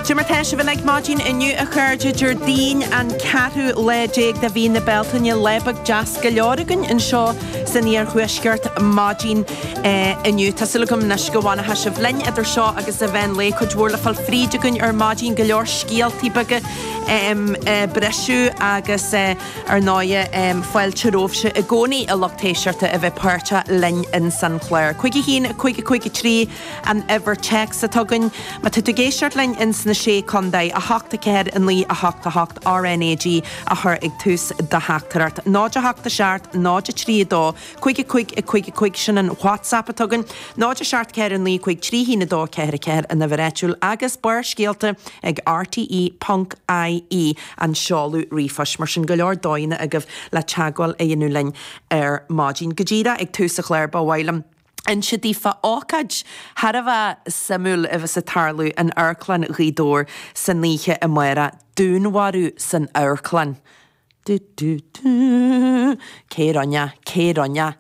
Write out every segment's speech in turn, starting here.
Cad é mar tá sibh uilig maidin inniu a chairde, Déardaoin an ceathrú lá déag de mhí na Bealtaine, lá beag deas go leor againn anseo san iarthuaisceart maidin inniu. Tá súil agam anois go bhfanfaidh sibh linn idir seo agus an mheán lae. Cuid mhór le fáil fríd againn ar maidin, go leor scéaltaí beaga briseadh agus ar ndóighe fáilte romhaibhse i gcónaí a lucht éisteachta a bheith páirteach linn insan chlár. 5 1 5 5 3 An uimhir téacs atá againn, má tá tú ag éisteacht linn ins na Sé Contae, 8 4 9 8 8 RNAG a chur ag tús do theachtaireacht. 0 8 7 0 3 2 5 5 5 5 sin an WhatsApp atá againn. 0 7 4 9 5 3 1 2 4 4 an uimhir áitiúil agus Barrscéalta ag rte ponc ie an seoladh ríomhphoist. Mar sin go leor dóigheanna agaibh le teagmháil a dhéanamh linn ar maidin. Go díreach ag tús an chláir ba mhaith liom. inse daoibh fá ócáid thar a bheith suimiúil a bheas ag tarlú in Amharclann Ghaoth Dobhair san oíche amárach, dúnmharú san amharclann. Du du du. Cé rinne? Cé rinne?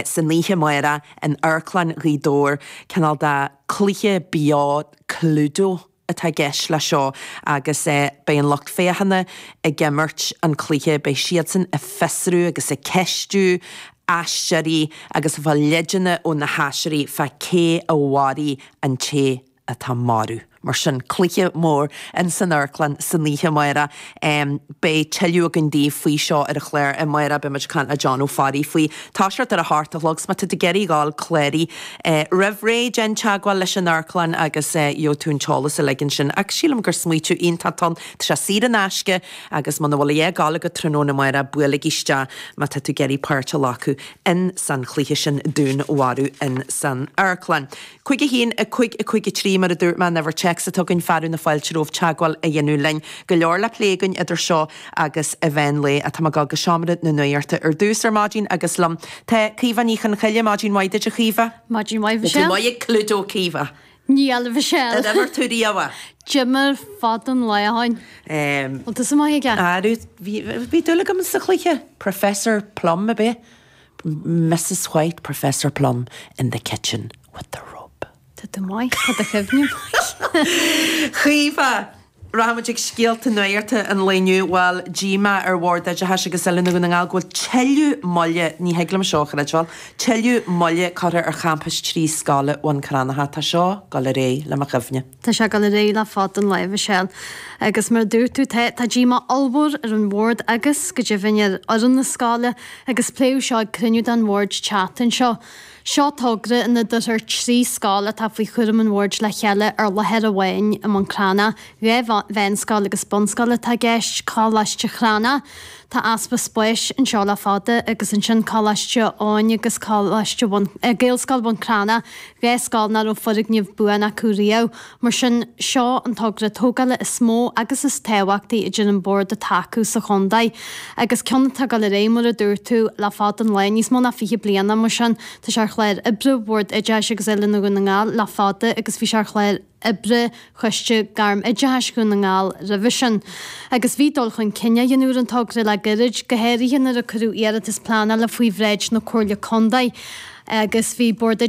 San oíche amárach in Amharclann Ghaoth Dobhair, cineál de cluiche beo Cluedo. atá i gceist leis seo agus beidh an lucht féachana ag imirt an cluiche, beidh siadsan ag fiosrú agus ag ceistiú aisteoirí agus ag fáil leideanna ó na haisteoirí fá cé a mharaigh an té atá marbh. Mar sin, cluiche mór in san amharclann san oíche amárach. Beidh tuilleadh againn daoibh faoi seo ar an chlár amárach, beidh muid ag caint le John Ó Fearraigh faoi. Toiseacht ar a hocht a chlog, 's má tá tú ag iarraidh a ghabháil cláraigh roimh ré, déan teagmháil leis an amharclann agus gheobhaidh tú an t-eolas uilig ansin. Ach sílim gur smaoitiú iontach atá ann, tá sé saor in aisce agus muna bhfuil a dhath ag gabháil agat tráthnóna amárach, buailigí isteach má tá tú ag iarraidh páirt a ghlacadh in san chluiche sin dúnmharú in san amharclann. 5 1 5 5 3 Mar a dúirt mé, an uimhir téacs atá againn, fearadh na fáilte romhaibh teagmháil a dhéanamh linn. Go leor le plé againn idir seo agus an mheán lae. Tá mé ag dul go seomra na nuachta ar dtús ar maidin agus liom tá Caoimhe Ní Chonchoille. Maidin mhaith duit a Chaoimhe. Maidin mhaith Michelle. Tá tú maith ag Cluedo Caoimhe. Níl a Mhichelle. Ar imir tú riamh é? D'imir fada an lá ó shin. Bhfuil tusa maith aige? Arú, bhí dúil agam sa chluiche. Professor Plum ab ea? Mrs White, Professor Plum in the kitchen with the rope. Tá tú maith, tá do chuimhne maith. Caoimhe, Rachaidh muid ag scéalta nuachta an lae inniu. Bhuel, díomá ar Bhord Oideachais agus Oiliúna Dhún na nGall go bhfuil tuilleadh moille, ní thig liom seo a chreidbheáil, tuilleadh moille curtha ar champas trí scoile Bhun Cranncha. Tá seo ag dul ar aghaidh le mo chuimhne. Tá sé ag dul ar aghaidh le fada an lá, a Mhichelle. Agus mar a dúirt tú, tá, tá díomá ollmhór ar an bhord agus, go deimhin, ar fhoireann na scoile agus pléadh seo ag cruinniú den bhord an tseachtain seo. Seo togra ina dtabharfar 3 scoil atá faoi chúram an bhoird le chéile ar láthair amháin i mBun Cranncha, 2 mheánscoil agus bunscoil atá i gceist, Coláiste Chranncha, Tá easpa spáis anseo le fada agus ansin Coláiste Eoin agus Coláiste Bhun, Gaelscoil Bhun Cranncha, 2 scoil nach raibh foirgneamh buan acu riamh. Mar sin, seo an togra tógála is mó agus is tábhachtaí a deir an Bord atá acu sa chontae. Agus ceann atá ag dul ar aghaidh, mar a dúirt tú, le fada an lá, níos mó ná 20 bliana, mar sin, tá sé ar chlár oibre Bhord Oideachais agus Oiliúna Dhún na nGall le fada agus bhí sé ar chlár oibre Choiste Gairm-Oideachais Dhún na nGall roimhe sin. Agus bhí dul chun cinn á dhéanamh ar an togra le gairid, go háirithe nuair a cuireadh iarratas pleanála faoi bhráid na Comhairle Contae agus bhí Bord.